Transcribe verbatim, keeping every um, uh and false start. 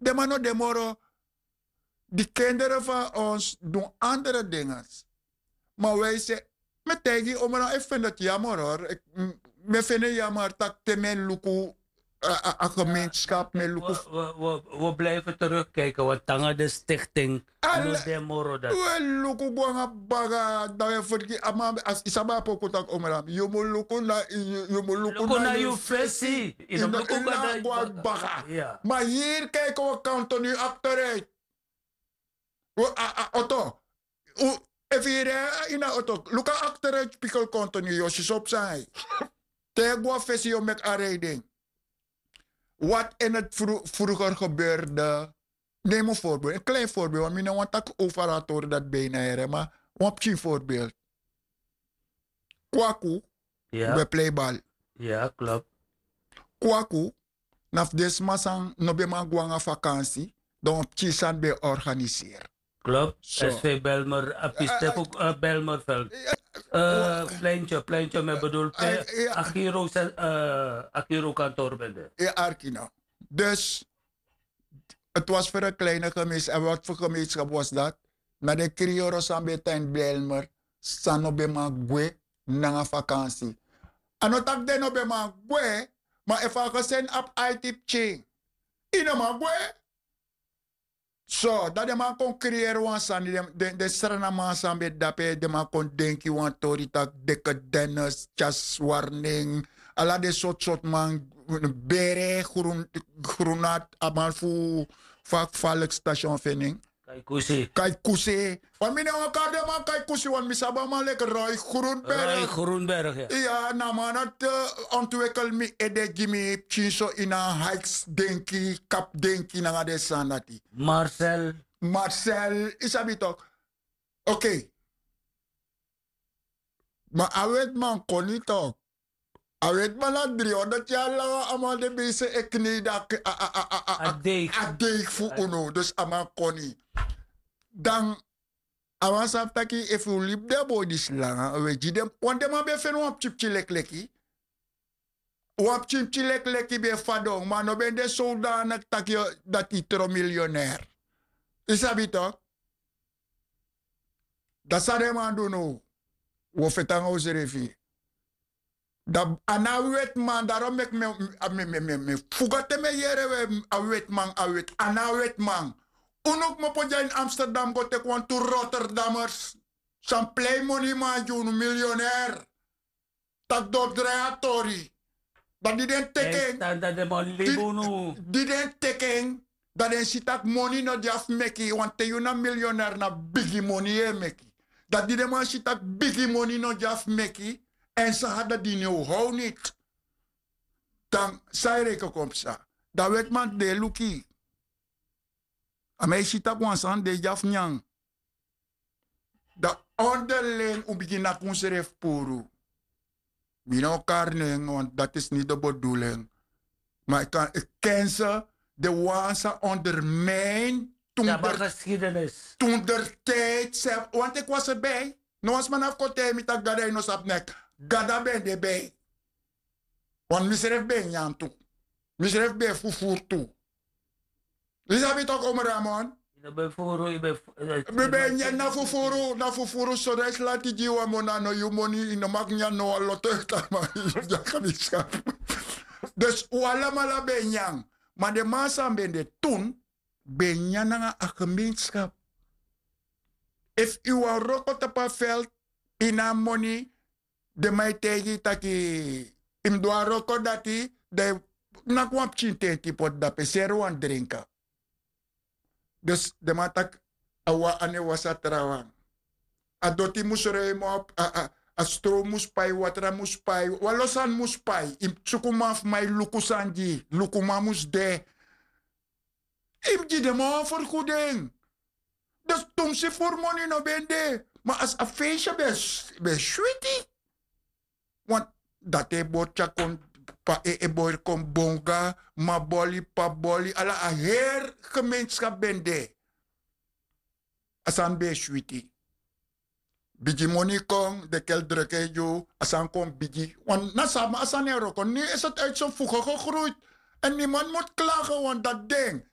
Den man no de moro. Di kendere fan ons dun andere dinges. Ma wi e se, mi e taigi yu omran, e feni dati yamor hori. Mi e feni en yamor tak' te mi e luku a gemeenskap mi e luku. Wi o blifi terugkijken want nanga de stichting no de moro dati. Wi e luku go nanga baga dan wi e fergi a man, yu sabi a poku tak' omran, yu mus luku na yu mus luku na yu fesi. Yu no mus luku na go nanga baga. Ma hiri kiki wi kantoni akteruit. Wi a oto. Efu yu rei ini a oto luku a akteruit spikel kantoni yu o si so psa. Te yu go na fesi yu o meki a reiding. Wat in heti fruger gebeurde. Nemi un vorbeeld en klein vorbeeld want mi no wani taki over a tori dati ben ini a here ma wan pikin vorbeeld. Kwaku ben plei bal. Kwaku na fu den sma san no ben man go nanga vakansi. Dan wan pikin sani ben organiseri. Klop. Sv belmer a piste fu belmerveld. Pleintye pleintye mi e bedul pe. Agiro agiro kantor ben de. Arki no. Dus het was fu en kleine gemees en wat fu gemeenskap was dati? Na den kriyoro san ben e tan ini belmer, san no ben man gwe nanga vakansi. A no taki den no ben man gwe. Ma efu a geseni abi aiti pikin, yu no man gwe. So dan den man kon kriyeri wan sani den sranaman san ben de dape den man kon denki wan tori tak' deke dennis tyasi warning. Ala den sortu sortu man bere grunat a man fu fu a kfalik station fu en nen. Kai kusi. Kai kusi. Wan mi ne wan kari den man kai kusi wan mi sabi a man leki roy grunberg. Iya na a man dati ontwikel mi ede gi mi pikin so ini a hikes denki kapu denki nanga den sani dati. Marcel. Marcel yu sabi tok. Okei. Ma a weti man kon ni tok. A weti man na dri hondro tyari langa a man de ben yu se e knei dan a deigi fu unu dus a man kon ni. Dan a wan sabi taki efu un libi den a boi disi langa un e gi den. Wan den man ben e feni wan pikin pikin leki leki. Wan pikin pikin leki leki ben e fadon ma a no ben de sowdanik taki dati yu tron milionair. Yu sabi tok? Dan san den man du now? Wi o feti nanga unsrefi. Dan a na a wetiman darom meki mi fuga te mi e yere we a wetiman a weti a na a wetiman. Unu kmopo dya ini amsterdam go teki wantu rotterdammers san plei moni man gi unu milionair. Tak' den o drai a tori. Dan di den teki en di den teki en dan den si tak' moni no dya fu meki wanten yu na milionair na bigi moni yu e meki. Dan di den man si tak' bigi moni no dya fu meki èn san hada dini o how niti. Dan san e reken kon psa? Dan wetiman di den e luku yu. A man e si tak' wan sani de dya fu nyan. Dan onderling un bigin naki unsrefi puru. Mi no kari nen want dati is niti de beduling. Ma yu kan yu kense den wan san ondermijn. Tun der tun der tijdi sef want eki was erbij. No wan sma na fu kon taigi mi tak' gado a yu no sabi neki. Gado a ben de bij. Want misrefi ben e nyan tu. Misrefi ben e fufuru tu. Yu sabi tok' omo ramon? Mi ben e nyan na fufuru na fufuru so dan yu si lanti gi yu wan moni a no yu moni yu no maki nyan no wan loto yu tan man. Yu dyaka mi skapu. Dus un alamala ben e nyan. Ma den man san ben de tun ben e nyan nanga a gemeenskap. Efu yu wani wroko tapu a veld ini a moni den man e taigi yu taki yu mus du a wroko dati. Dan yu naki wan pikin tenti poti dape seri wan drinka. Dus den man taki a wan anu e wasi a trawan. A doti mus roi mus op. A strow mus pai watra mus pai walo sani mus pai yu mus suku man fu man e luku sani gi yu lukuman mus de. Yu mus gi den man wan ferguding. Dus tumsi furu moni no ben de. Ma a feestye ben switi. Want dati e bori tyakon pa e e bori kon bonga maboli paboli ala a heri gemeenskap ben de. A sani ben e switi. Bigi moni kon den kel druk en yu a sani kon bigi. Want na sama a sani e wroko ni is het uit so fuge gegroeid. En niemand mus klage want dati ding.